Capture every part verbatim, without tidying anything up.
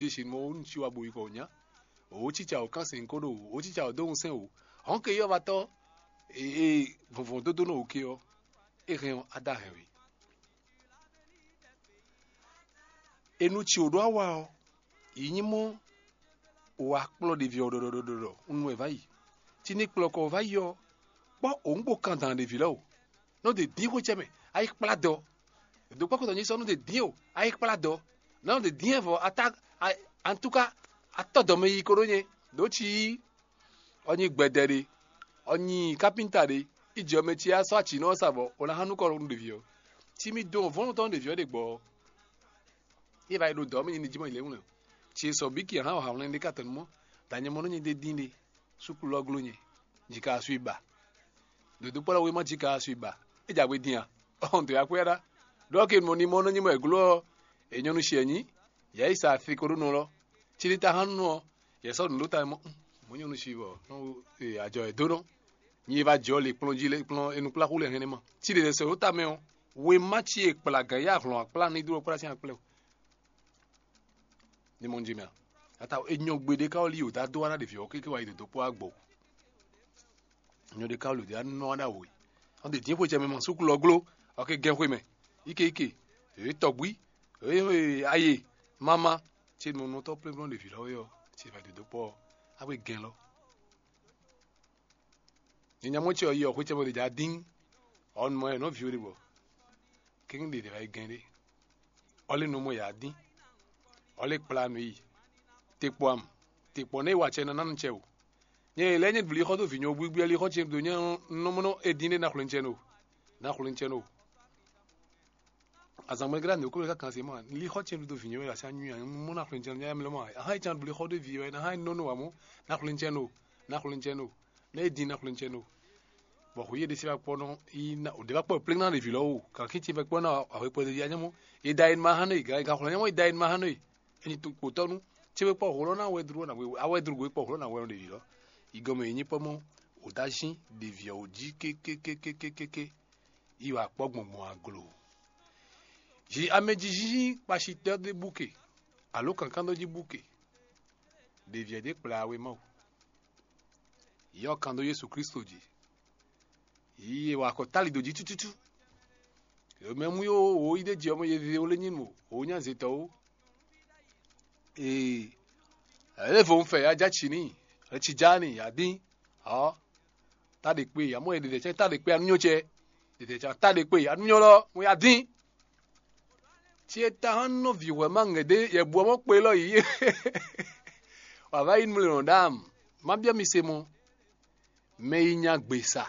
Jezu mɔ wú nú ci wá bo yi kɔ nya. Wǒ cíca wǒ kán sɛn kó ɖo wǒ cíca wǒ dó ŋusɛn wǒ. Hɔn ke yɔ́vatɔ́ e vɔnvɔn dó dó nɔ wǒ ke ɔ́, é hɛn ɔ́, á dó ahɛn wě. E nú ci wǒ ɖó awa ɔ́, yi nyí mɔ wǎ kplɔ́ ɖevi ɔ́ ɖɔɖɔɖɔɖɔ un nu wɛ vǎ yi. Ci ní kplɔ́ kɔ vǎ yi ɔ́, kpɔ́ òun kpo kan dan ɖevi lɛ́ɛ o. Nɔ ɖe dín xwé cɛ mɛ, a yi kplá dɔ. Dǒkpɔ́kɔtɔ nyí sɔ́ nɔ ɖe dín o, a yi kplá dɔ. Nɔ ɖe dín vɔ ata antúká atɔ́ dɔ mɛ yi ko ɖó nyɛ. Ɖǒ ci yí ɔ nyi gbɛdɛ ɖe, ɔ nyi kapinta ɖe, ijɔ mɛ ci a sɔ́ aci nɔ sa vɔ o ná hán nukɔ nú ɖevi ɔ́. Ci mi dɔn vɔ̌nu tɔn ɖevi ɔ́ ɖe gbɔ ɔ́, é va yi ɖo dɔ̌ mɛ nyi ní jí mɔ yi lě wlɛ́n o. Ci e sɔ bǐ ki hán wǎ hwlɛ́n ɖé ka tɔn mɔ, dǎ nyɛ mɔ nɔ nyi ɖé dín ɖé. Súklu ɔ́ gló nyɛ, jǐ ka sú yi ba. Dǒdó kpɔ́ ɖɔ wéma jí ka sú yi ba. É jɛ agbe din a? Ɔn dǒ ya kwɛ́ ɖá. Ɖɔ ke mɔ ní mɔ nɔ nyi mɔ è gló ɔ́, è nyɔ́ nú shi ɛ nyí, yɛ yi sa afi ko ɖó nɔ lɔ. Cí ní ta hán nú ɔ́, yɛ sɔ́ nǔ ɖó ta mɔ mɔ nyɔ́ nú shi bɔ ajɔ è dó nɔ. Nyi e va jɔ le kplɔ́n jí le kplɔ́n enukpláxú le hɛn ma. Cí ɖe sɛ ɖó ta mɛ ɔ́, wéma cí e kplá gǎn yá hlɔn akplá ní dó kplá sín akplɛ o. Ní mɔ njí mɛ a? Ata enyɔ gbeɖé ka wɔ lí wǒ dó adó wá ná ɖevi ɔ́ kéké wá yi dǒdó kpó agbɔ. Enyɔ ɖé ka wɔ lǒ dó anɔ wá ná wǒ. Ɔn ɖe dín xwe cɛ mɛ ma súkú lɔ gló, ɔké gɛn xwe mɛ. Ike ike, èyí tɔgbí, èyí aye, mama, tí nunɔtɔ plɛ́nplɛ́n ɖevi lɔ wɛ ɔ́, tí è va dǒdó kpó ɔ́, á wé gɛn lɔ. Nyɛ nya mɔ ce ɔ́ yi ɔ́ xwé cɛ bɔ ɖe dza dín. Ɔ nɔ ɛ nɔ viwo ɖe bɔ kéŋ ɖe ɖe wá yi gɛn ɖé. Ɔ lé nɔ mɔ yǎ dín. Ɔ lé kplá nǔ yi. Te kpɔ am. Te kpɔ nɛ yi wa cɛ nɔ ná nu cɛ o. Nyɛ lɛ́ nyɛ vǐli xɔ dó vǐ nyɔ gbígbí ɛ lí xɔ ce ɖo nyɛ nɔ mɔ nɔ é dín ɖé ná xwlɛ́n cɛ nɔ. Ná xwlɛ́n cɛ nɔ. Azǎn mɛ glá nǔ kó mɛ kákan se mɔ lí xɔ ce ɖo vǐ nyɔ wɛ asi anyui a mɔ ná xwlɛ́n cɛ nɔ nyɛ mlɛ mɔ. Ahan yi can vǐli xɔ dó vǐ wɛ ná hán nɔ nɔ wa mɔ. Ná xwlɛ́n cɛ nɔ. Ná xwlɛ́n cɛ nɔ. Nɛ é dín ná xwlɛ́n cɛ nɔ. Bɔ xwé yé ɖésí wá kpɔ́ nɔ yi ná ò ɖě wá kpɔ́ plé ná ɖe vǐ lɔ o, kǎkín ce vɛ kpɔ́ ná ahwekpɔ́ ɖe ya nyɔ́mɔ. È da e ma hán nɔ e gǎ gǎxɔ nyɔ́mɔ è da e ma hán nɔ e. È nyi kpotɔ́nú. Ce wé kpɔ́ hǒlɔ́ ná wɛ dló ná wɛ awɛ dló gbé kpɔ́ hǒlɔ́ ná wɛ ɖe vǐ lɔ. Yi gɔmɛ è nyí kpɔ́ mɔ ò dá zín ɖe vǐ ɔ́ wú jí kékékékékéké. Yi wǎ kpɔ́ gbɔngbɔn aglo. Zi amɛjijínjín kpaṣitɔ́ ɖé búke alo kankanɖó jí búke. Ɖe vǐ ɔ́ ɖě kplá we Mawu. Yɔ kan dó Jezu Kristo jí. Yi e wa akɔ tali dǒ jí tututu. Mɛ mú yó wǒ yi ɖé jí ɔmɔ ye vivi wlé nyí nǔ wǒ nya zětɔ́ ó. Ee, ɛlɛ vo un fɛ ya já tsi ní, etsi já ní ya dín. Ɔ, ta ɖe kpe ya mɔ ye ɖeɖe tsɛ ta ɖe kpe anu nyɔ tsɛ. Ɖeɖe tsɛ ta ɖe kpe anu nyɔ lɔ mo ya dín. Tsi e ta hɔn nɔ vǐ hwɛ ma ŋɛ ɖé yɛ bu ɔmɔ kpe lɔ yi. Wà va yi nú le nɔ ɖam. Ma biɔ mi se mɔ. Mɛ yi nya gbe sa,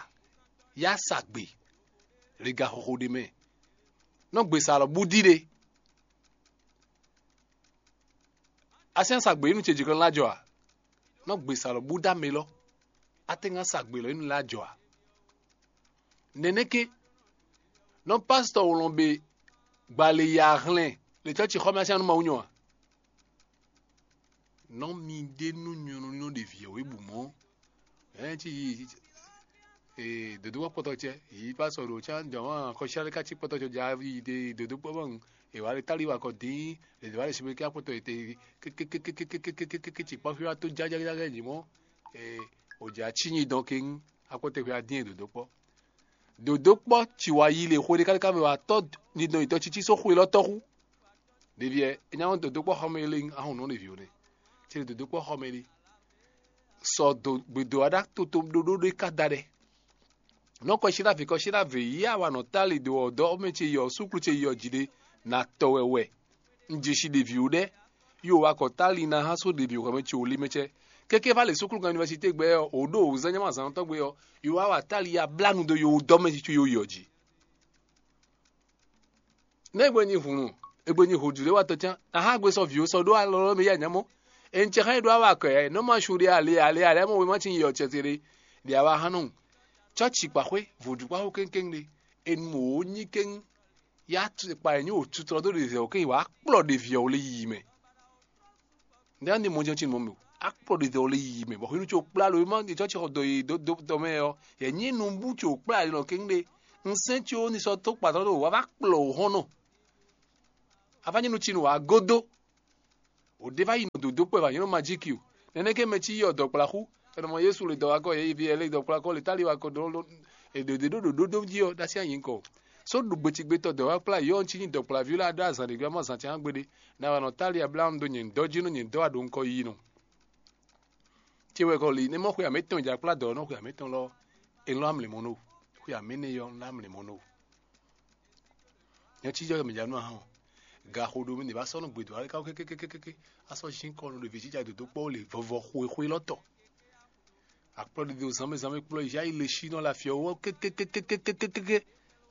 ya sa gbe, lega xɔxɔ ɖe mɛ. Nɔ gbe sa lɔ bú dí ɖe. Asi nya sa gbe yi nú ce jikɔn la jɔ a? Nɔ gbe sa lɔ bú dá mɛ lɔ. Ate ŋa sa gbe lɔ yi nú la jɔ a? Nɛnɛke, nɔ pastɔ wlɔn be gbale ya hlɛn le cɔci xɔ mɛ asi anu ma wú nyɔ a? Nɔ mi ɖe nú nyɔnu nɔ ɖe vǐ ɔ́ wé bu mɔ̌. Ɛn ci yi ee dodo wá kpɔtɔ cɛ yi pásɔ ɖo can jɔn wá kɔsíálí ká ci kpɔtɔ cɔ ja yi de dodo kpɔ mɔ. Ewa le tali wa kɔ dín le de wa le sibiri ká kpɔtɔ yi te kékékékékékékékékéké ci kpɔ́ xwíwá tó jájájájá yi mɔ̌. Ee o ja ci nyi dɔn kéŋ akpɔtɔ xwíwá dín e dodo kpɔ́. Dodo kpɔ́ ci wá yi le xwe ɖé káléká mɛ wá tɔ́ nidɔn yitɔ cící só xwe lɔ tɔ́ xú. Ɖevi ɛ, é nya wɔn dǒdó kpɔ́ xɔmɛ lé ahɔn nɔ ɖevi o nɛ. Cɛ dǒdó kpɔ́ xɔmɛ lé. Sɔ do gbedo aɖa toto ɖoɖo ɖe ka da ɖɛ. Nɔ kɔsíɖa vǐ kɔsíɖa vě yí awa nɔ tali do ɔdɔ ɔmɛ ce yɔ súklu ce yɔ jǐ ɖe na tɔ wɛ wɛ. Un jeshi ɖevi o ɖɛ. Yo wa kɔ tali na hã so ɖevi o xɔmɛ ce o li mɛ cɛ. Keke va le súklu kan université gbɛ ɔ, o ɖo o zan nyama zan tɔgbe ɔ, yo wa wa tali ya bla nu do yo dɔ mɛ ci yo yɔ jǐ. Nɛ́ gbe nyi hǔnnu, è gbe nyi hǒjúɖéwatɔ́ cán, a há gbe sɔ́ vǐ ó sɔ́ ɖó alɔ mɛ yí anyǎmɔ. È nyi cɛ xá nyi ɖó awa kɔ ɛ nɔ ma su ɖe ale ale ale mɔ wema cin yi ɔcɛ te ɖe ɖe awa hán nɔ. Cɔ́ci kpaxwé vodúkpaxó kéŋkéŋ ɖe, è nu mò wǒ nyi kéŋ. Yá kpa è nyí wǒ tutlɔ dó ɖe zɛ wǒ kéŋ wǎ kplɔ ɖe vǐ ɔ́ wlé yiyi mɛ. Ndé andi mɔ jɛn ci mɔ mɛ o. Akplɔ ɖe dɔ le yiyi mɛ bɔ hwenu tso kpla lo ma ɖe tɔ ci xɔ dɔ yi do do dɔ mɛ ɔ, yɛ nyi nu bu tso kpla le nɔ kéŋ ɖe. Un sɛn tso ni sɔ to kpatɔ ɖo wa va kplɔ o hɔn nɔ. Ava nyi nu ci nu wa godo. O ɖe va yi nɔ dǒdó kpɛ va nyɔ́ majíki o. Nɛnɛ́ ke mɛ cí yɔ dɔ̌kplaxú, è nɔ mɔ Yésu le dɔ̌wakɔ yě vi ɛlɛ dɔ̌kplaxú le táli wakɔ ɖó ɖó è ɖǒ ɖó ɖǒ ɖó jí ɔ ɖó así anyǐ kɔ. Só ɖu gbecigbe tɔ dɔ̌wakplá yɔ ɔ́ cí nyí dɔ̌kplaví lɛ́ɛ ɖó azǎn ɖě gbé amɔ zǎn ce hán gbeɖé. Ná wa nɔ táli ablamu dó nyɛ dɔ́ jí nú nyɛ dɔ́ wa ɖo ŋkɔ yiyi nɔ. Cé wɛ kɔ li nɛ́ mɔ xwe amɛtɔn ja kplá dɔ̌ nɔ xwe amɛtɔn lɔ, è nɔ amlě mɔ nɔ. Xwe amɛnɛ yɔ nɔ amlě mɔ nɔ. Nyɛ cí jɔ mɛ ja nú ahán o. Gaxo ɖo mɛ ɖě va sɔ́ nɔ gbedo alé káwó kékékékéké. A sɔ́ zín kɔ nú ɖevi jíjà dǒdó kpɔ́ le vɔvɔ xwexwe lɔ tɔ. Akplɔ́ ɖiɖi zánmɛ zánmɛ kplɔ́ yá yi le sí nɔ le afyɔ wɔ kékékékékékéké.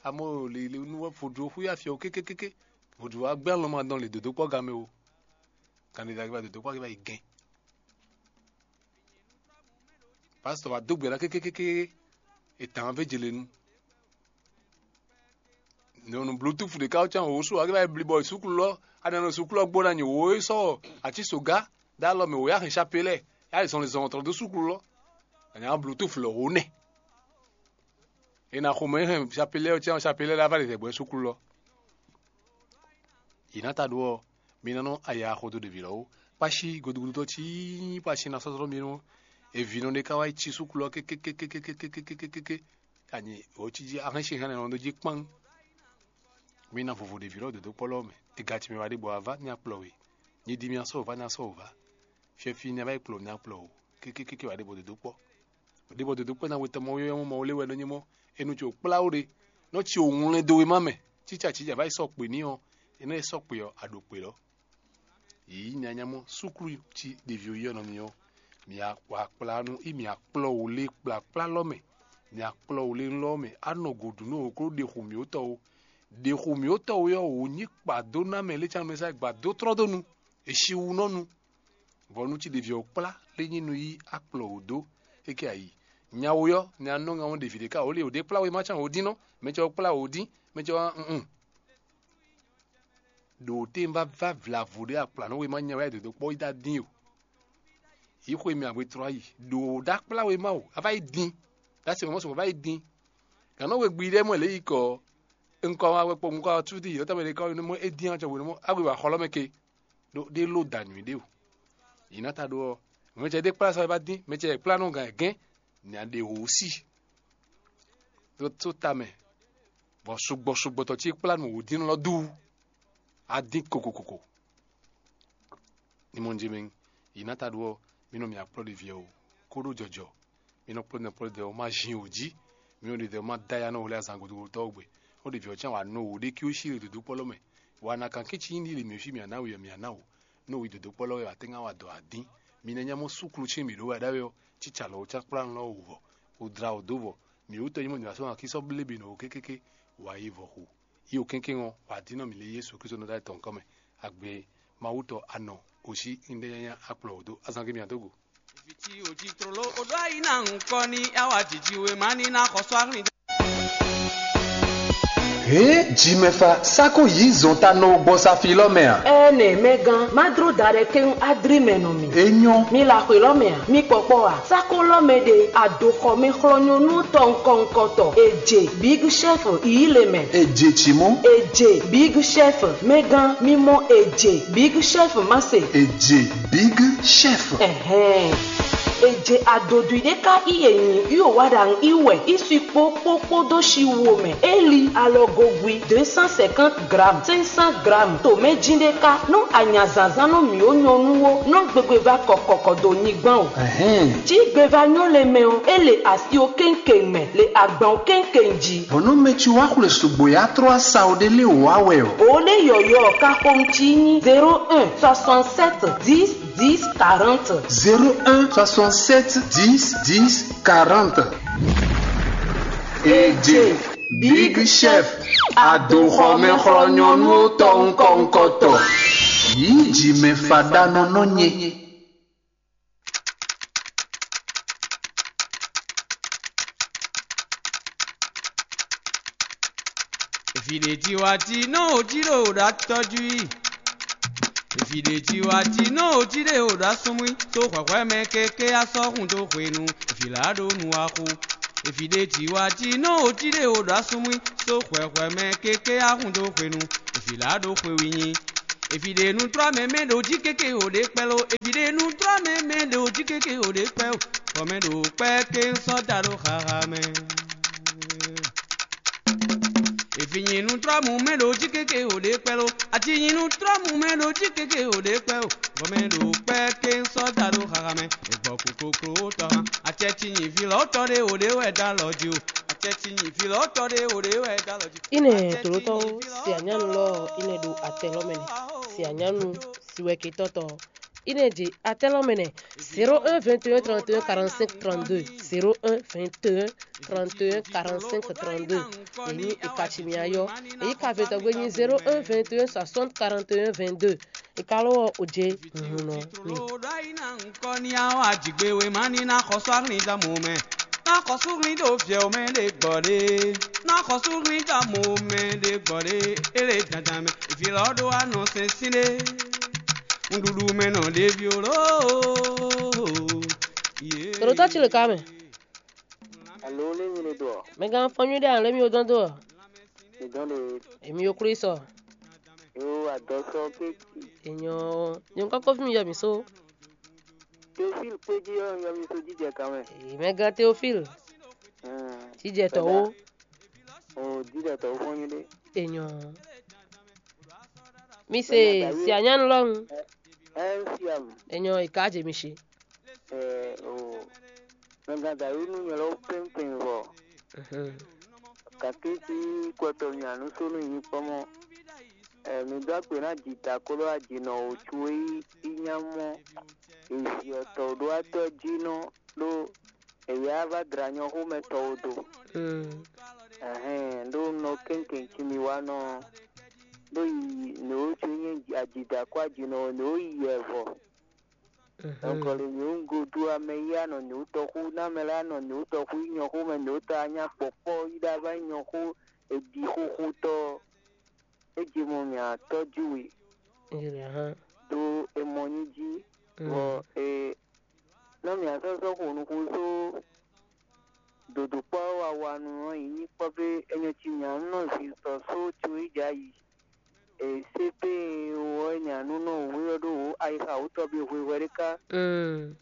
Amɔ le le nú wɔ vodro xwé afyɔ kékékéké. Vodro wa gbɛ alɔma dɔn le dǒdó kpɔ́ gamɛ o. Kan ɖe ɖagbe va dǒdó kpɔ́ va yi gɛn. Pastor wa dó gbe ɖa kékékéké. È tǎn vé jele nu. Nɔ nu bluetooth ɖeka ɔ́ cán wǒ sú ɔ́, é va yi blibɔ suklu lɔ, a nɔ suklu ɔ́ gbó ná nyi wǒ é sɔ́ atísogá dó alɔ mɛ wǒ yá hɛn chapelɛ, yá yi zɔnlin zɔn tɔn dó suklu lɔ. A nya bluetooth lɔ wǒ nɛ. È nǎ xomɛ hɛn chapelɛ ɔ́ cán chapelɛ lɛ́ɛ va ɖi zɛ̌gbɔ́ suklu lɔ. Yě ná ta ɖó ɔ́, mi ná nɔ aya xo dó ɖevi lɔ́ wú. Kpáshi godogodo tɔ́ cí kpáshi ná sɔ́sɔ́ mi nú evinɔ ɖé ká wá yi cí suklu ɔ́ kékékékékékékékékékéké. Anyi wǒ cí jí ahɛ́n sin hɛn nɔ ɖó jí kpán. Mi ná vovo ɖevi lɔ́ dǒdó kpɔ́ lɔ́ mɛ. Ega ce mɛ wá ɖe gbɔ wá vá ní akplɔ we. Nyi di mi asɔ wǒ vá ní asɔ wǒ vá. Fiɛfi ní a vá yi kplɔ ní akplɔ o. Kékékéké wá ɖe bɔ dǒdó kpɔ́. Ɖěbɔ dǒdó kpɛ́ ná we tɔn mɔ yɔ́yɔ́ mɔ Mawu lé wɛ nɔ nyí mɔ, é nú ce wò kplá ó ɖe. Nɔ ce wò wlɛn dó wéma mɛ, cícacíca vá yi sɔ́ kpě n'i ɔ́, é nɔ yi sɔ́ kpě ɔ́, a ɖo kpě lɔ́. Yǐ nyanya mɔ súklu cí ɖevi yɔ́yɔ́ nɔ n'i ɔ́, mǐ wa kplá nú í mǐ akplɔ́ wò lé kplakplá lɔ́ mɛ, mǐ akplɔ́ wò lé lɔ́ mɛ, á nɔ gǒ ɖu nú wǒ kó ɖe xu mǐ ó tɔ́ ó. Ɖe xu mǐ ó tɔ́ ó ɔ́, wǒ nyí kpa dó ná mɛ lé can mɛ sá gba dó tlɔ́ dó nu, è si wú nɔ nu. Vɔ nú cí ɖevi ɔ́ kplá lé nyi nú yí akplɔ wǒ dó é ké ayi. Nyawo ɔ́, nya nɔ ŋa wɔn ɖevi ɖé ká wǒ li wǒ ɖé kplá wéma can wǒ dín nɔ, mɛ ce ɔ́ kplá wǒ dín, mɛ ce ɔ́ un. Ɖo tɛ́n va va vlavo ɖé akplá nɔ wéma nya wɛ dǒdó kpɔ́ yi dá dín o. Yí xwe mɛ agbe trɔ ayi. Ɖo ɖá kplá wéma o, a va yi dín. Dá se mɔmɔ sɔmɔ va yi dín. Gǎn nɔ we gbi ɖɛ́ mɔ lě yi kɔ. Ŋkɔ wa wɛ kpɔ́ ŋkɔ wa tú dí yɔ́tɔ́ mɛ ɖé kɔ nɔ mɔ é dín acɔ wǒ nɔ mɔ agbe wa xɔlɔ́ mɛ ke. Ɖó ɖé ló da nyǔɖé o. Yě ná ta ɖó ɔ́, mɛ ce ɖé kplá sa wɛ ba dín, mɛ ce kplá nɔ gǎn gɛ́n, nya ɖe wǒ sí. Ɖó tó ta mɛ, bɔ sugbɔ sugbɔ tɔ cí kplá nǔ wǒ dín lɔ dú. A dín kokokoko. Ní mɔ jɛ mɛ, yě ná ta ɖó ɔ́, mí nɔ mì akplɔ́ ɖe viɛ o, kó ɖó jɔjɔ. Mi nɔ kplɔ́ nɔ kplɔ́ ɖe ɔ́ má zin wǒ jí. Mi nɔ ɖe ɖe ɔ́ má dó aya nɔ wlé azǎn godogotɔ́ ɔ́ gbe. Ó ɖe vǐ ɔ́ cán wǎ nɔ wǒ ɖé cí ó cí ɖo dǒdó kpɔ́ lɔ mɛ. Wǎ ná kan kí cí nyí ɖi mǐ fí mǐ ná wǔ mǐ ná wǒ. Nɔ wí dǒdó kpɔ́ lɔ wɛ wǎ tɛ́ ŋá wa dɔ̌ adín. Mi ná nyá mɔ súklu cí mǐ ɖó wɛ ɖ'áwɛ ɔ́, cí calɔ wó cán kplá lɔ wǔ vɔ. Wǒ dla wǒ dó vɔ. Mǐ wú tɔ́ nyí mɔ nyǐ wá sɔ́ wan kí sɔ́ blé bǐ nɔ wǒ kékéké. Wǎ yi vɔ xo. Yi wǒ kɛ́nkɛ́n ɔ́, wǎ dín nɔ mǐ lé Yésu Klísu nɔ dó ayǐ tɔn kɔ́ mɛ. Agbe Mawu tɔ anɔ, osí ŋɖɛ́ nyanya akplɔ wǒ dó azán gé mǐ ná dó go. Viti ojitrolo oɖo ayi na ŋkɔ ni awa jiji we ma ni na xɔsɔ ahlin. Hě jimɛfa sako yí zɔn ta nɔ gbɔ safi lɔ mɛ a? Ɛnɛ mɛgán, má dro da ɖɛ kɛn adri mɛ nɔ mi. Enyɔ. Mi la xwe lɔ mɛ a? Mi kpɔkpɔ a? Sako lɔ mɛ ɖe adoxɔ mɛ xlɔ nyɔnu tɔ ŋkɔ ŋkɔ tɔ. Eje big chef yi le mɛ. Eje tsimɔ. Eje big chef mɛgán, mi mɔ eje big chef ma se. Eje big chef. Ɛhɛn. Eje adodwi ɖe ka iye nyi yo wa ɖa ŋ iwɛ isi kpo kpo kpo do shi wo mɛ. Eli alɔgogwi deux cent cinquante grammes, cinq cents grammes. To mɛ jin ɖe ka nɔ anya zanzan nɔ mi o nyɔnu wo nɔ gbegbe va kɔkɔkɔ do nyigban o. Ɛhɛn. Ci gbe va nyɔ le mɛ o, e le asi o kɛnkɛn mɛ, le agban o kɛnkɛn ji. Bɔnɔ mɛ ci wa xwle sugbo ya trɔ asa o ɖe le wa wɛ o. O ɖe yɔyɔ ka xom ci nyi zéro un soixante-sept dix dix quarante. Zéro un soixante-sept dix dix quarante. Eje big chef adoxɔmɛxlɔ nyɔnu tɔ ŋkɔ ŋkɔ tɔ. Yí jimɛ faɖa nɔ nɔ nye. Efi ɖe tiwa ti nɔ o ji ɖo ɖa tɔjú yi. Efi ɖe tiwa ti nɔ o ji ɖe o ɖa sɔmui. So hwɛhwɛ mɛ keke asɔ hun do hwenu. Efi la ɖo nu axu. Efi ɖe tiwa ti nɔ o ji ɖe o ɖa sɔmui. So hwɛhwɛ mɛ keke ahun do hwenu. Efi la ɖo xwe wi nyi. Eviɖe nu trɔ mɛ mɛ ɖo jí kéké o ɖe kpɛ lo. Eviɖe nu trɔ mɛ mɛ ɖo jí kéké o ɖe kpɛ o. Bɔ mɛ ɖo kpɛ ké sɔ da ɖo xaxa mɛ. Evi nyi nu trɔ mu mɛ ɖo jí kéké o ɖe kpɛ lo. Ati nyi nu trɔ mu mɛ ɖo jí kéké o ɖe kpɛ o. Bɔ mɛ ɖo kpɛ ké sɔ da ɖo xaxa mɛ. Egbɔ ku koklo tɔ hã. Acɛ ci nyi vi lɔ tɔ ɖe o ɖe wɛ da lɔ jí o. Acɛ ci nyi vi lɔ tɔ ɖe o ɖe wɛ da lɔ jí. Ine tolotɔwo si anyanu lɔ ine ɖo atɛ lɔ mɛ nɛ. Si anyanu si wɛ ke tɔtɔ ine ɖi atɛ lɔ mɛ nɛ. Zéro un vingt et un trente et un quarante-cinq trente-deux. Zéro un vingt et un trente et un quarante-cinq trente-deux. Èyí ìkàtì mi ayɔ. Èyí ka vɛtɔgbe nyi zéro un vingt et un soixante quarante et un vingt-deux. Ìkàlówó òjé hùn nɔ mi. Kɔ ní awɔ ajigbe we ma ní ná xɔsú ahlin dá mo mɛ. Ná xɔsú hlin ɖo viɛ o mɛ ɖe gbɔ ɖe. Ná xɔsú hlin dá mo mɛ ɖe gbɔ ɖe. Ele dandan mɛ. Ìfilɔ ɖo anɔ sɛnsɛn ɖe. Ŋɖuɖu mɛ nɔ ɖevi o loo. Tolotɔ ci le ka mɛ. Alo, lé mi le do ɔ? Mɛ gán fɔn nyuɖe a lé mi o dɔn do ɔ? Mi dɔn le. Èmi o Klísu. Yo, adɔ sɔ kéki. Ènyɔ, nyɔ kɔkɔ fún mi yɔ mi só. Théophile Kpéjí ɔ́, yɔ mi só jíjɛ kan mɛ. Èmi gán Théophile. Hmm. Jíjɛ tɔ wo. O jíjɛ tɔ wo fɔn nyuɖe. Ènyɔ. Mi se si anyanu lɔnu. Ɛ, ɛ, siam. Ènyɔ ìka jẹ mi ṣe. Ɛ, o. Mɛ gán dàrú nú nyɛ lɔ pɛnpɛn vɔ. Mhm. Gake sí kɔtɔ mì anú sónú nyi kpɔ́ mɔ. Ɛ, mi dó akpe ná jǐta kó ɖó ajǐnɔ wǒ có é nyí nyá mɔ. Èzì ɔtɔ ɖó atɔ́ jí nɔ ɖó èyá vá dra nyɔxómɛ tɔwo do. Mm. Ɛhɛn, ɖó nɔ kɛnkɛn cí mi wá nɔ ɖó yi nǔ e wǒ có nyí ajǐda kó ajǐnɔ nǔ e yi yɛ vɔ. Mhm. Donc le nyɔ̌nu godu amɛ yi anɔ nyɔ̌nu tɔxú, ná mɛ lɛ́ɛ anɔ nyɔ̌nu tɔxú yi nyɔxómɛ nyɔ̌nu tɔ anyá kpɔkpɔ yi ɖo ava nyɔxó, eɖi xóxótɔ, é je mɔ mì atɔ́ jí we. Ɖó é mɔ nyí jí, bɔ é nɔ mì asɔ́sɔ́ xo nuxu só dodokpɔ́ wawanu ɔ́ yi nyí kpɔ́ fé é nyɔ́ cí mì ǎ, un nɔ zin sɔ só có yi jǎ yi. E C P ɔ́ nya nú nɔ wǔ ylɔ́ ɖó wǒ ayixa wǔtɔ́ bí hwehwɛ ɖé ká. Mm.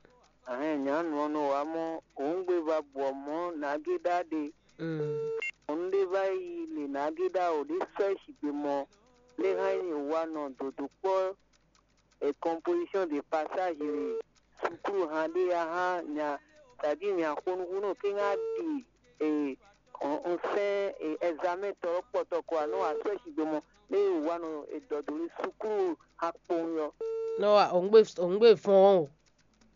Ahɛn nya nǔ ɔ́ nɔ wá mɔ wǒ un gbe va bɔ mɔ̌ nǎgé ɖá ɖe. Mm. Mɔ̌ nú ɖé va yi le nǎgé ɖá wǒ ɖé sɔ́ ɛ sigbe mɔ lé hán nyí wǎ nɔ dodokpɔ́ e composition de passage le sukúlu hán ɖé ya hán nya tadí nya xo nukúnnú kéŋ á ɖi e un sɛ́n examen tɔ ɔ́ kpɔtɔ kɔ wá nɔ wá sɔ́ ɛ sigbe mɔ lé e wǔ wá nɔ e dɔ dó ɖo sukúlu akpowun ɔ́. Nɔ wa òun gbe òun gbe fɔn o.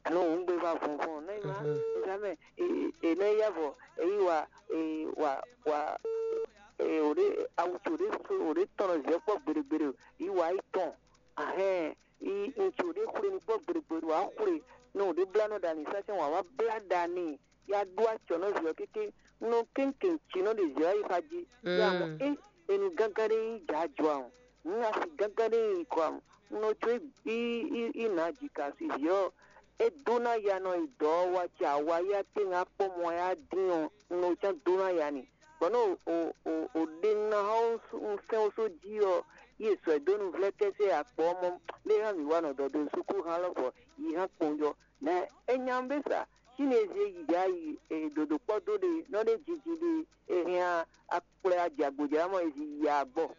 Alo òun gbe va vɔnvɔn nɛ yi wá examen e e nɛ ya vɔ e yi wá e wá wá e o ɖe awu tso ɖe so o ɖe tɔn nɔ zɛ kpɔ gbeɖegbeɖe yi wá yi tɔn ahɛn yi ŋutsu ɖe xwle ní kpɔ gbeɖegbeɖe wá xwle nɔ o ɖe bla nɔ ɖa ni sasɛn wá wá bla ɖa ni ya ɖó acɔ̌ nɔ zɛ kéké nɔ kéŋkéŋ cí nɔ ɖe zɛ yi xa jí ya mɔ e enu gángan ɖe yi dza jɔ a nǔ asi gángan ɖe yi kɔ a nɔ tso yi yi yi na jika si zɛ ɔ e dó ná ya nɔ yi dɔ ɔ wá ci awa ya tɛ́ ŋa kpɔ́ mɔ ya dín ɔ nɔ cán dó ná ya ni bɔ nɔ o o o ɖe ná xɔ un sɛn o só jí ɔ yi e sɔ ɛ dó nu vlɛ́ kɛ́sɛ akpɔ ɔ́ mɔ lé hán mǐ wa nɔ dɔ dó sukúlu hán lɔ bɔ yi hán kpɔn jɔ nɛ é nya bɛ sa sín e zé yi ya yi e dodokpɔ dó ɖe nɔ ɖe jiji ɖe e hɛn akplɛ ajagbojá mɔ e zi yi agbɔ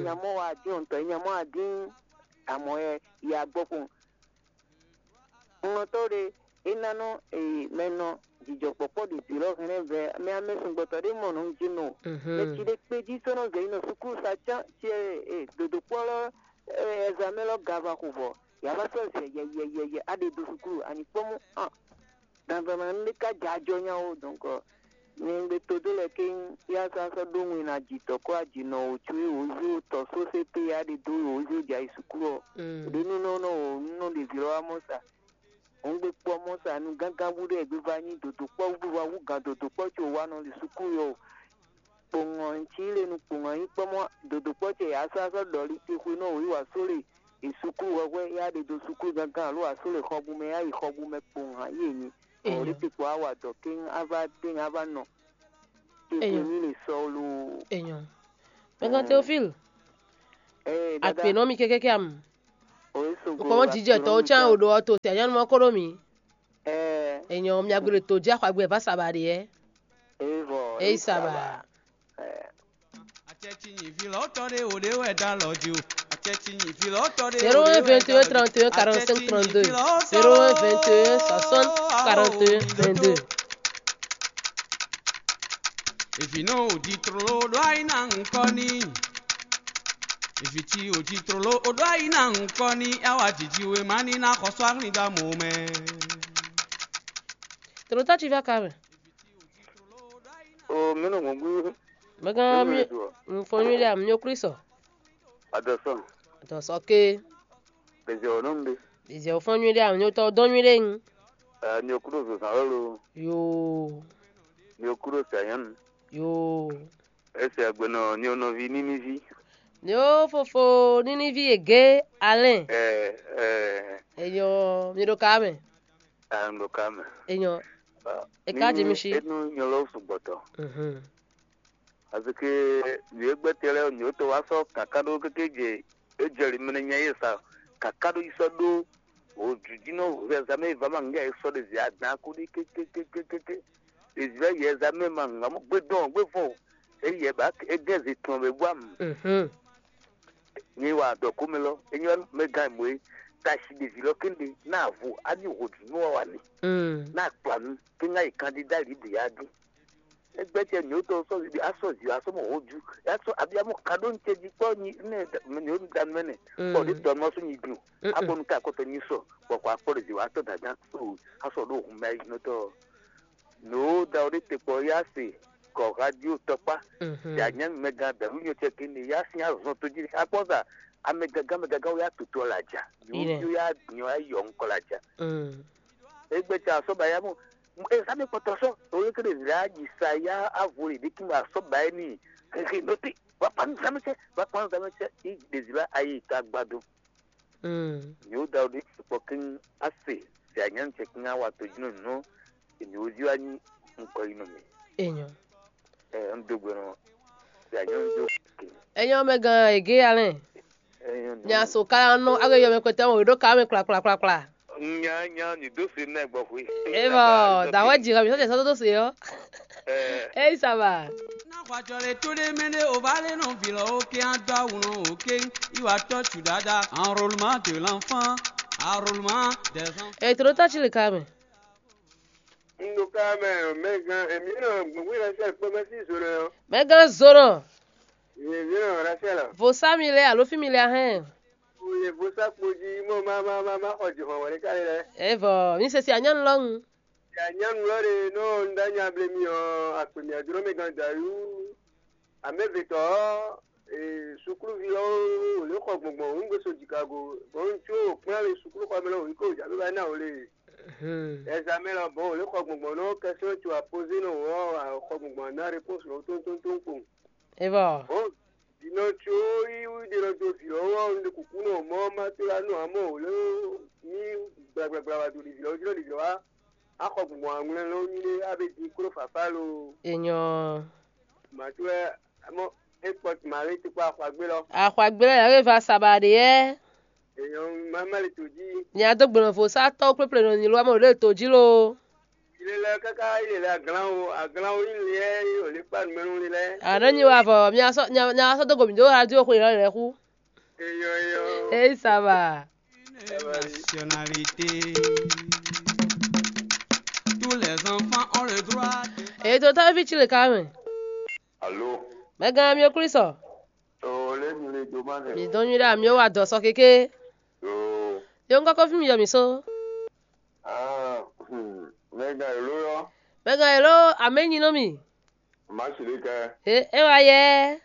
nya mɔ wa dín ɔntɔ nya mɔ wa dín amɔ yɛ yi agbɔ kpɔn Nɔtɔ́ ɖé, é ná nɔ mɛ nɔ jijɔkpɔkpɔ ɖě zǐlɔ́ hɛn lɛ́ɛ vɛ mɛ amɛsɛngbɔtɔ́ ɖé mɔ nǔ jí nɔ. Mɛ cí ɖé kpé jí sɔ́ nɔ zɛ yi nɔ sukúlu sa cán cɛ dodokpɔ́ lɔ ɛzamɛ lɔ gava xo vɔ. Yǎ vá sɔ́ zɛ yɛyɛyɛyɛ á ɖe dó sukúlu, a nǐ kpɔ́n mɔ an. Dandanna nú ɖé ká jɛ ajɔ nya ó, dɔ̌nkɔ nyɛ un gbe todó lɛ́ɛ kéŋ, yá sɔ́ sɔ́ ɖó wɛn ná jǐ tɔ̌ kó ajǐnɔ wǒ có wǒ zé wǒ tɔ́ sósé pé yá ɖe dó wǒ zé jɛ ayi sukúlu ɔ́. Ɖě nú nɔ nɔ wǒ nú nɔ ɖevi lɔ wá mɔ sa. Hɔngbe kpɔ mɔ sa nu gángan bú ɖé gbiva nyí dodokpɔ́ wú wá wú gǎn dodokpɔ́ co wá nɔ li sukúlu ɔ́. Kpowun ɔ́, un cí le nu kpowun ɔ́ nyí kpɔ́ mɔ dodokpɔ́ ce yě asɔ́ asɔ́ ɖɔ li te xwe nɔ wǒ yi wǎ só le yi sukúlu hwɛhwɛ yá ɖe dó sukúlu gángan alo wǎ só le xɔbu mɛ yá yi xɔbu mɛ kpowun hǎn yě nyi. Ɔ́ li te kpɔ á wa dɔ̌ kéŋ á vá téŋ á vá nɔ. Te xwe ní le sɔ́ loo. Enyɔ. Mɛgán Théophile. Akpe nɔ mi kékéké am. Kpɔn jijɛ tɔwo cán o ɖo ɔ́ to tɛ nyɔnu mɔ kó ɖo mi. Enyɔ mi agbe ɖo to jí axɔagbe vá sa ba ɖe yɛ. Eyi sa ba. Acɛci nyi vi lɔ tɔ ɖe o ɖe wɛ da lɔ jí o. Acɛci nyi vi lɔ tɔ ɖe. Zéro un vingt et un trente et un quarante-cinq trente-deux. Zéro un vingt et un soixante quarante et un vingt-deux. Evi nɔ o di tlolo ɖo ayi na ŋkɔ ni. Evi ci o di tlolo o ɖo ayi na ŋkɔ ni. Awa jiji we ma ni na xɔsɔ ahlin da mo mɛ. Tlolo ta ci va ka mɛ. O mɛ nɔ gbɔngbɔ. Mɛgán mi fɔn nyuiɖe amúnyó Klísu. Adɔsɔ. Adɔsɔ ké. Ɖezɛ ɔnɔ mi ɖe. Ɖezɛ fɔn nyuiɖe amúnyó tɔ dɔn nyuiɖe. Ni o kúɖo zozan lɔ lo. Yoo. Ni o kúɖo sanyanu. Yoo. Ese agbenɔ ni o nɔvi níníví. Ni o fofo níníví ege alɛn. Ɛ ɛ. Enyɔ mi ɖo ka mɛ. Ɛ mi ɖo ka mɛ. Enyɔ. Eka jɛ mi si. Enu nyɔ lɔ sugbɔtɔ. Mhm. Azike nǔ e gbɛtɛ lɛ́ɛ nǔ e to wá sɔ́ kǎká ɖó kéké jɛ é jɛ li mɛ nya yě sa kǎká ɖó yi sɔ́ ɖó wǒjujínɔ hwɛzamɛ e va ma ŋgɛ e sɔ́ ɖe zě adán kú ɖi kékékékékéké. Ɖevi lɛ́ɛ yɛ zá mɛ ma ŋa mɔ gbé dɔn gbé fɔn o. É yɛ ba é gɛ́ zě tɔn bɛ bú amú. Mhm. Nyi wa dɔ kó mɛ lɔ é nyɔ mɛ gán mɔ é. Tashi ɖevi lɔ kéde ná vo á ní hǒjúnú wa wa ni. Mm. Ná akplanu kí ŋá yi kandida libre ya dín. Egbɛ́ cɛ nyɔ̌tɔn sɔ́ asɔ́ zǐ asɔ́ mɔ hǒjú asɔ́ abiyamɔ ka ɖó ŋcɛ jí kpɔ́ nyi nɛ nyɔ̌nu danu mɛ nɛ. Mm. Kpɔ ɖé tɔnu ɔ́ sú nyi dun. Mm-mm. Akpɔnu ka akɔtɔ nyi sɔ bɔ kɔ akpɔ ɖe zǐ wa tɔ dada o asɔ ɖo hun mɛ ayinɔtɔ. Nǔ da ɖé te kpɔ ya se kɔ radio tɔkpá. Mhm. Ya nyɛ mɛ gan dɛnu nyɔ cɛ kene ya sin azɔn to jí akpɔ sa amɛ gangan mɛ gangan wo ya toto la ja. Ilẹ̀. Yo ya nyɔ ya yɔ ŋkɔ la ja. Mm. Egbe tsa sɔ ba ya mɔ ezame kpɔtɔ sɔ o ye kele zira yi sa ya avo le ɖe kí ma sɔ ba ye ni hehe nɔte wa kpa nu zame sɛ wa kpa nu zame sɛ i ɖe zira ayi ta gbado. Mm. Ni o da o ɖe kpɔ kí a se se anya nu cɛ kí a wa to jí nɔ nɔ èmi o zi wa nyi ŋkɔ yi nɔ mi. Enyɔ. Ɛ n do gbɛ nɔ se anya nu do ke. Enyɔ mɛ gan ege alɛ. Nya so ka nɔ age yɔ mɛ kpɛtɛ o ɖo ka mɛ kpla kpla kpla kpla. Nya nya ni do se nɛ gbɔ xwe. Evɔ dawɔ dzi ka mi sɔ sɔ do se yɔ. Ei, ça va. Na xɔ ajɔ le to ɖe mɛ ɖe o va le nɔ vi lɔ o ke a dɔ awu nɔ o ke i wa tɔ tu dada enrôlement de l'enfant, enrôlement des enfants. Ei, to ɖo ta ci le ka mɛ. N ɖo ka mɛ mɛ gan emi nɔ gbogbo yɛ sɛ kpɔ mɛ si zo nɔ. Mɛ gan zo nɔ. Yɛ vi nɔ ra sɛ la. Vo sa mi lɛ alo fi mi lɛ ahɛn. Oye vo sa kpo jí mɔ ma ma ma ma xɔ jihɔn wɛ ɖe ka lɛ. Evɔ mi sɛ si anyɔnu lɔ ŋu. Ya nyɔnu lɔ ɖe nɔ un ɖo nya ble mi ɔ́ akpe mia jlɔ́ mɛ gan dayú. Amɛvetɔ ɔ́, sukluvi ɔ́ wò lě xɔ gbɔngbɔn wǔ gbé so jikago bɔ un có kplán le sukluxɔ mɛ lɔ wǐ ko jǎ bíbá ná wò le. Ɛzamɛ lɔ bɔ wò lě xɔ gbɔngbɔn nɔ kɛsɛ́ co apozé nɔ wò ɔ́ xɔ gbɔngbɔn ná répons lɔ tóntóntón kpowun. Evɔ. Bɔn dǐnɔ co yí ɖe nɔ do vǐ ɔ́ wɔ un ɖe kúkú nɔ mɔ ma to la nɔ amɔ wò lé mí gblagblagbla wá do ɖi vǐ ɔ́ jí nɔ ɖi vǐ ɔ́ wá. Axɔ gbɔn aŋlɛ lɔ nyuɖe abe din klo fafa lo. Enyɔ. Màtú wɛ mɔ é kpɔ màlé tukpa axɔagbé lɔ. Axɔagbé lɔ yàrá va saba ɖe yɛ. Enyɔ mama le to jí. Nya dó gbɔnɔ vo sá tɔ́ kpléplénɔ nyi lo amɔ ɖo to jí lo. Ilé lɛ káká ilé lɛ aglan o aglan o ilé yɛ o lé kpa numɛnu lé lɛ. Àná nyi wa vɔ mi asɔ nya nya asɔ dó gomi dó radio xwe lɔ lɛ xú. Eyɔ eyɔ. Eyi saba. Nationalité. Tous les enfants ont le droit de. Èyí tó táwọn fi tsi lè ká mɛ. Alo. Mɛ gã mi o Kristo. O lé mi le do ma nɛ. Mi dɔn nyuɖe ami o wa dɔ sɔ kéké. O. Yo ŋkɔ kɔfí mi yɔ mi so. Ah, hmm. Mɛ gã elo yɔ. Mɛ gã elo amɛ nyi nɔ mi. Ma si le kɛ. E e wa yɛ.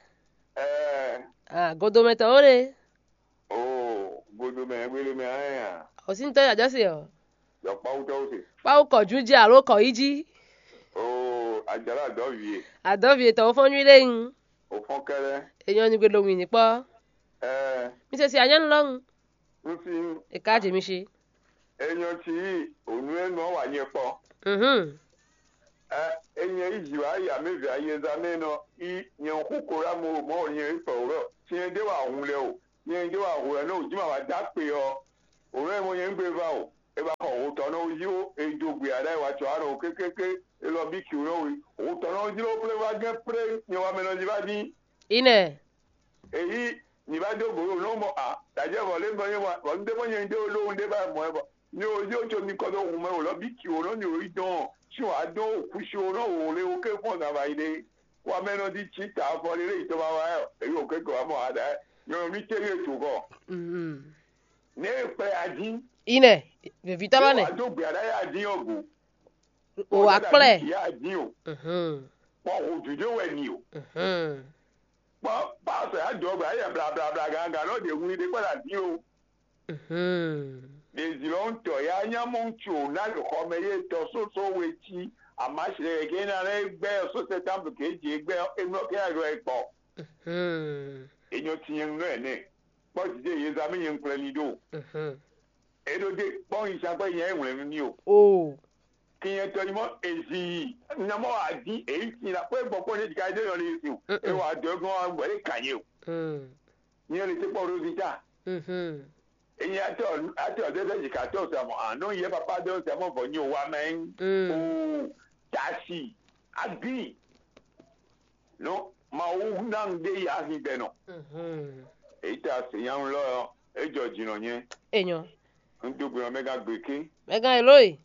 Ɛɛ. Ah, godomɛtɔ o de. Oo, godomɛ wele mɛ ayɛ a? O si ŋutɔ yɔ jɔ se o. Yɔ kpawutɔwo se. Kpawu kɔ ju ji alo kɔ yi ji. Oo, ajala adɔ vie. Adɔ vie tɔ o fɔn nyuɖe ŋu. O fɔn kɛlɛ. Enyɔ nyigbe ɖo ŋwi ni kpɔ. Ɛɛ. Mi se si anyɔnu lɔ ŋu. N si. E ka je mi si. Enyɔ ci yi onu enu ɔ wa nyɛ kpɔ. Mhm. Ɛ enyɛ yi ji wa ya mi vɛ ayeza mɛ nɔ i nyɛ xu ko la mo mɔ nyɛ yi fɛ o lɔ. Tiɛ de wa hun lɛ o. Nyɛ ɖó ahu ɛ nɔ jí ma wá dó akpe ɔ́, òun e mo nyɛ ŋgbé va o. E ba xɔ hotɔnɔ jí ó, e do gbé aɖá e wa tsɔ anɔ kékéké, e lɔ bí kí nɔ we. Hotɔnɔ jí ló plé va gɛ́ plé nyɛ wa mɛ nɔ jí va dín. Ine. Èyí nyì va dó gbǒ nɔ mɔ a dajɛ vɔ lé bɔ nyɛ wa vɔ ndé mɔ nyɛ ɖé ló ndé ba mɔ ɛ bɔ nyɛ o jí o tso mi kɔ dó hun mɛ o lɔ bí kí o nɔ nyɛ o yi dɔn si wa dɔn o kú si o nɔ o lé o ké fɔn zan va yi ɖe. Wa mɛ nɔ di tsi ta afɔ ɖé lé yi tɔn ma wa ɛ, èyí o ké gɔ wa mɔ aɖa ɛ. Nyɔnɔ mi tɛ́ yé to kɔ. Mhm. Ne e kplɛ a dín. Ine. Vevitɔ lɔ ne. Wa dó gbé aɖá yá dín ɔ́ go. O wa kplɛ. Yá dín o. Mhm. Kpɔ o dúdú wɛ ni o. Mhm. Kpɔ pásɔ yá dɔgba yá blablabla gangan nɔ ɖe wuli ɖe kpɔ la dín o. Mhm. Ɖe zilɔn tɔ yá nyamɔ tso na le xɔmɛ yé tɔ sóso we tí. Amasi lɛ gé na lɛ gbɛ só sɛtánblu ké dzi gbɛ enɔ ké ayɔ ɛ kpɔ. Mhm. Enyɔ tinyɛnu nɔ ɛnɛ. Kpɔ dide yezami nyɛ ŋkplɛ ni ɖo. Mhm. Eɖo de kpɔn yi sa kpɛ nyɛ ŋwlɛ nu ni o. O. Kinyɛ tɔ yi mɔ ezi yi. Nyamɔ adi eyi ti la kpɛ gbɔ kpɔ ne dika de yɔ le si o. Mm-mm. E wa dɔ gbɔn wa gbɔ le kanye o. Mm. Nyɛ le te kpɔ ɖo vi ta. Mhm. Enyi atɔ atɔ de de dika tɔ sa mɔ anɔ yɛ papa de sa mɔ vɔ nyi o wa mɛ. Mm. O tasi agbi. No, Mawu ná ŋɖe yi ahigbɛnɔ. Mhm. Èyí ta se nyanu lɔ ɔ́, é jɔ jǐnɔ nyɛ. Enyo. Un dó gbe nɔ mɛ gán gbe ké. Mɛ gán elo yi.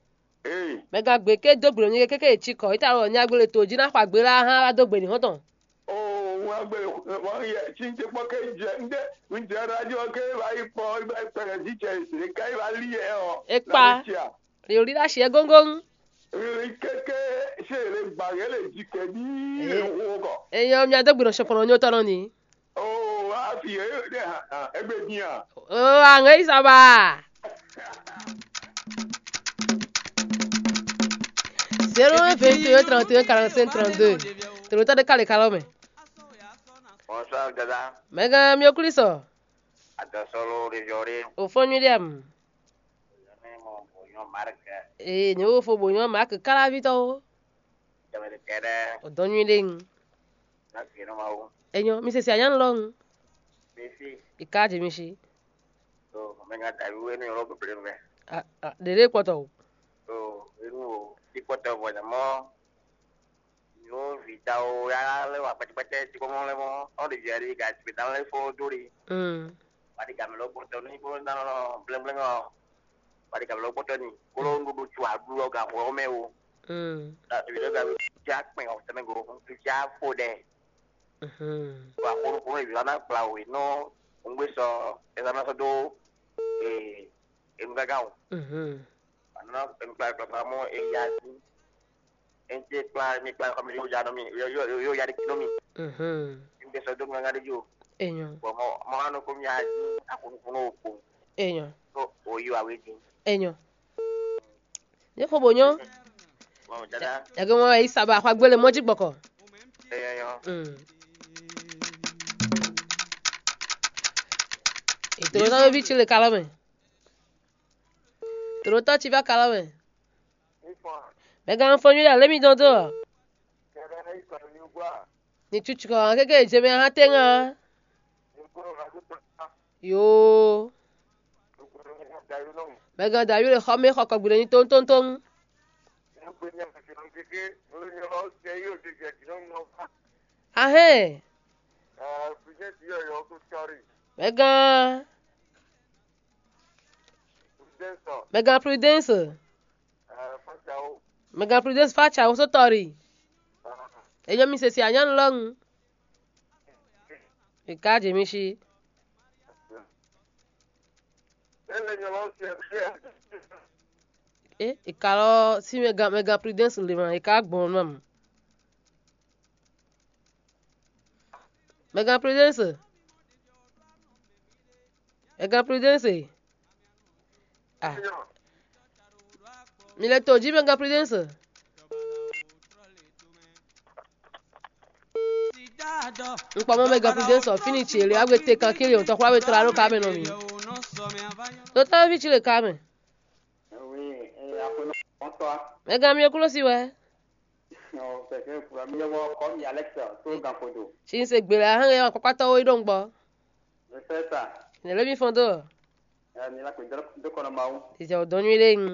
Ee. Mɛ gán gbe ké dó gbe nɔ nyɛ kéké tsi kɔ. Ita wɔ nya gbele to jí ná xɔ agbe la hã wá dó gbe ní hɔn tɔn. Oo, wọn gbé wọn yɛ tí ń tẹ kpɔ ké jɛ ń dé ń jẹ radio ké va yi kpɔ va yi pẹrẹ jí jẹ ìsìn ká yi va lí yɛ ɔ. É kpa. Yòlí ɖo asi ɛ góngóŋ. Kéké ṣe lè gbà yẹn lè jí kẹ ní. Ee. Ewu kọ. Eyɔ mia dó gbe nɔ sɔkpɔnɔ nyó tɔnɔ ni. Oo, a fi yẹ yóò dé hàn hàn ẹgbẹ́ dín à. Oo, àŋɛ yìí sábà. Zéro un vingt et un trente et un quarante-cinq trente-deux. Tòlótọ́ ɖé kálí kálọ́ mɛ. Bonsoir, Dada. Mɛgán mi ò kúlí sɔ. Adɔsɔlɔ région ré. Ò fɔn nyuí ɖé am. Zane mo bonyo marque. Ee, ne wo fo bonyo marque kalavi tɔ wo. Jamɛ de kɛdɛ. O dɔn nyuí ɖe ŋu. Na gbe no ma wo. Enyo, mi se si anya lɔ ŋu. Bisi. Ika je mi si. To me nga da yu enu yoro problem me. A a dede kpɔtɔ o. To enu o ti kpɔtɔ bɔ nyamɔ. Yo vitawo ya lɛ wa kpɛtɛkpɛtɛ ti kɔmɔ lɛ mɔ. Ɔ de via de ga ti bɛ dan lɛ fo do de. Mm. Wa de ga mi lɔ kpɔtɔ ni ko na nɔ blɛnblɛn ɔ. Wa de ga mi lɔ kpɔtɔ ni. Kolo ŋu do tso aɖu ɔ ga xɔ mɛ o. Mm. Ta to bi lɔ ga bi ja kpɛn ɔ tɛmɛ go. Tu ja fo dɛ. Mhm. Wa kolo kolo bi wa na kpla o no. Ŋgbé sɔ ɛzana sɔ do. Ee. Enu gaga o. Mhm. Ana enu kpla kpla kpla mɔ eya si. Ente kpla mi kpla kɔmi yo ya nɔ mi yo yo yo ya de kino mi. Mhm. Mi bɛ sɔ do mi ŋa de jo. Enyo. Bɔn mɔ mɔ anɔ ko mi ya di akunu kunu o ko. Enyo. Ko o yo awe di. Enyo. Ne xo bo nyɔ. Mɔ dada. Yage mɔ yi saba xɔ agbele mɔ dzi gbɔkɔ. Enyo yo. Mm. Ètò ló sáré bí tsi le kalọ́ mɛ. Tòlótɔ́ cí vá kalɔ mɛ. Mɛ gán fɔ́n nyuɖé alé mi dɔn dó ɔ. Ní cucu kɔ hàn kéké jɛ mɛ hã tɛ́ ŋa. Yoo. Mɛ gán dǎ yúɖe xɔ mɛ xɔ kɔgbìɖe ní tóntóntón. Ahɛn. Mɛ gán. Mɛ gán Prudence. Mɛ gán Prudence fa tsa wosó tɔri. Enyo mi sesi anyɔnu lɔnu. Ika jemi si. E ika lɔ si mɛ gán mɛ gán Prudence le ma ika gbɔn nɔ. Mɛ gán Prudence. Mɛ gán Prudence. Ah. Mi lɛ to jí mɛ gán Prudence. N kpɔ mɔ mɛ gán Prudence ɔ fini tsi ele agbe te kan kiri o tɔkura be tra ɖo ka mɛ nɔ mi. Totɔ vi tsi le ka mɛ. Mɛ gán mi kulo si wɛ. Ɔ, kɛkɛ kura mi yɔ kɔ mi Alex to gan kodo. Si n se gbe le ahɛn yɔ kɔkɔtɔ wo yi ɖo ŋgbɔ. Mɛ fɛ sa. Nɛ̌ lɛ́ mi fɔ́n dó? Ɛ, mi la kpe dó dó kɔ nɔ Mawu. Ìzɛ ò dɔn nyuí ɖé ŋu.